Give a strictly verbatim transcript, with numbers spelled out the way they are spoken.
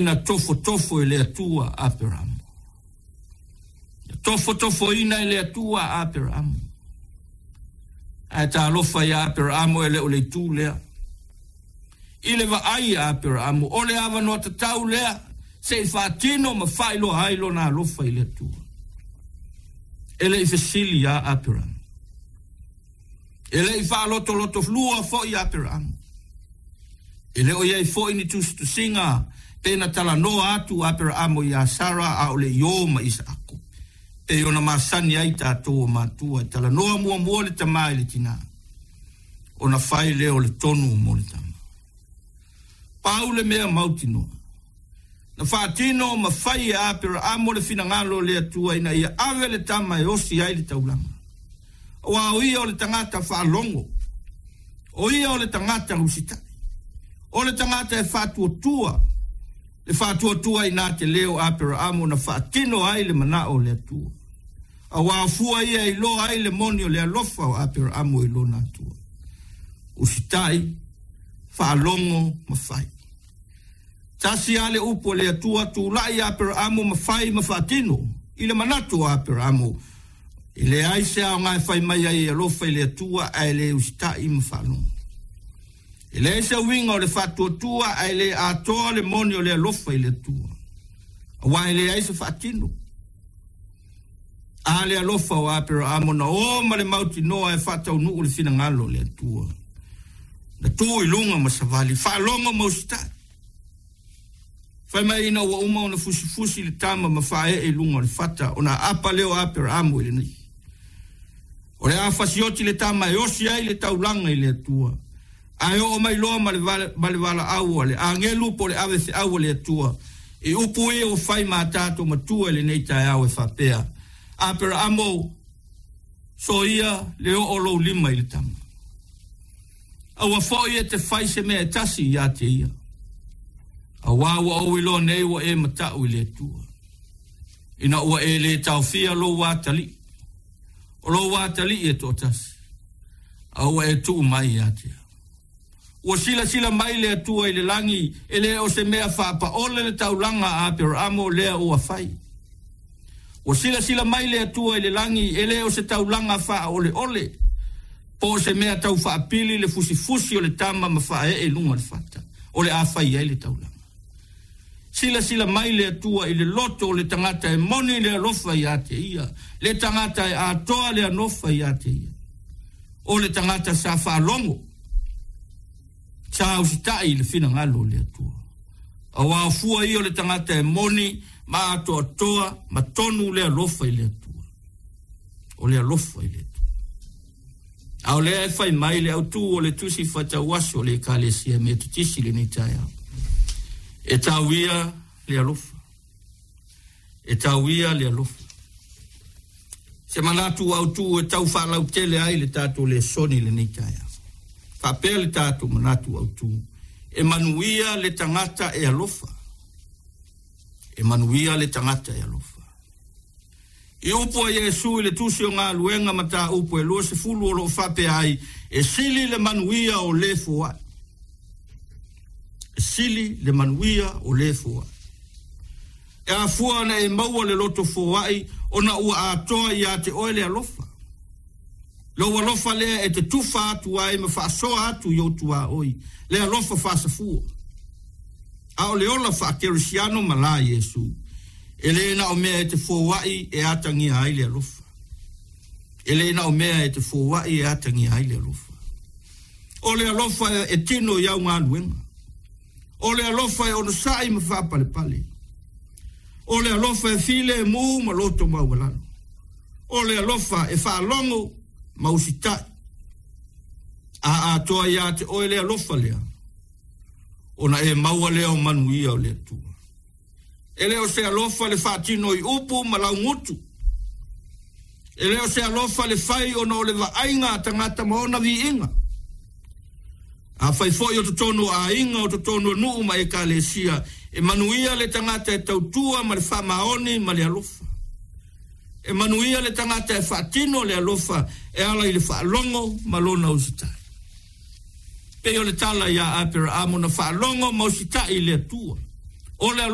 Na tofotofo e le Atua Aperamo. Na tofotofoina e le Atua Aperamo. Ae talofa ia Aperamo, e le o le itu lea. I le vaai a Aperamo, o le avanoa tatau lea se i faatino ma faailoa ai lona alofa i le Atua. E le i fesili a Aperamo. E le i faalotoloto lua foi Aperamo. E le o iai foi ni tusitusiga pe na talanoa atu Aperamo iā Sara a o le i ō ma Isaako. Pei ona masani ai tatou o matua e talanoa muamua le tamā i le tinā, ona fai lea o le tonu mo le tama. Pau le mea mautinoa, na faatino ma fai e Aperamo le finagalo o le Atua ina ia ave le tama e osi ai le taulaga. Aua o ia o le tagata faalogo, o ia o le tagata usitai, o le tagata e faatuatua. Le faatuatua ina te leo Aperamo na faatino ai le manao o le Atua. Aua o fua ia e iloa ai le moni o le alofa o Aperamo i lona Atua. Usitai, faalogo ma fai. Tasi lava le upu a le Atua, tulai Aperamo ma fai ma faatino. I le manatu o Aperamo, e leai se aoga e fai mai ai e alofa i le Atua ae le usitai ma faalogo. E leai se uiga o le faatuatua ae le atoa le moni o le alofa i le Atua. Aua e leai se faatino. A le alofa o Aperamo na o ma le mautinoa e faataunuu le finagalo o le Atua. Na tu i luga ma savali, faalogo ma usitai. Fai mai ina ua uma ona fusifusi le tama ma faaee i luga o le fata, ona aapa lea o Aperamo i lenei. O le a fasioti le tama e osi ai le taulaga i le Atua. Ae oo mai loa ma le valaau a le agelu po o le avefeau a le Atua. I upu ia ua fai ma tatou matua i lenei taeao e faapea, Aperamo, soia le oo o lou lima i le tama. Aua foi e te fai se mea e tasi ia te ia. Aua ua ou iloa nei ua e matau i le Atua, ina ua e le taofia lou atalii. O lou atalii e toatasi, a ua e tuu mai ia te au. Ua silasila mai le Atua i le lagi, e le o se mea faapaole le taulaga a Aperamo lea ua fai. Ua silasila mai le Atua i le lagi, e le o se taulaga faaoleole, po o se mea tau faapili le fusifusi o le tama ma faaee i luga o le fata, o le a fai ai le taulaga. Silasila mai le Atua i le loto o le tagata e moni le alofa ia te ia, le tagata e atoa le alofa ia te ia. O le tagata sa faalogo, sa usitai i le finagalo o le Atua. Aua o fua ia o le tagata e moni ma atoatoa ma tonu le alofa i le Atua. O le alofa i le Atua. A o lea e fai mai le autu o le tusi faitauaso o le Ekalesia Metotisi i lenei taeao. E tau ia le alofa. E tau ia le alofa. Se manatu autu e tau faalautele ai le tatou lesoni i lenei taeao. Faapea le tatou manatu autu. E manuia le tagata e alofa. E manuia le tagata e alofa. I upu a Iesu i le tusi o Galuega mataupu e luasefulu o lo o faapea ai, e sili le manuia o le foai. E sili le manuia o le foai. E afua ona e maua le loto foai ona ua atoa ia te oe le alofa. Lou alofa lea e te tufa atu ai ma faasoa atu i ou tuaoi, le alofa faasafua. A o le ola faakerisiano ma la Iesu, e le na o mea e te foai e atagia ai le alofa. E le na o mea e te foai e atagia ai le alofa. O le alofa e tino i au galuega. O le alofa e onosai ma faapalepale. O le alofa e filemu ma loto maualalo. O le alofa e faalogo ma usitai. A atoa ia te oe le alofa lea, ona e maua lea o manuia o le Atua. E le o se alofa le faatino i upu ma laugutu. E le o se alofa le fai ona o le vaaiga a tagata ma ona viiga. Afai foi o totonu o aiga, o totonu o nuu ma ekalesia, e manuia le tagata e tautua ma le faamaoni ma le alofa. E manuia le tagata e faatino le alofa e ala i le faalogo ma lona usitai. Pei o le tala ia Aperamo na faalogo ma usitai i le Atua. O le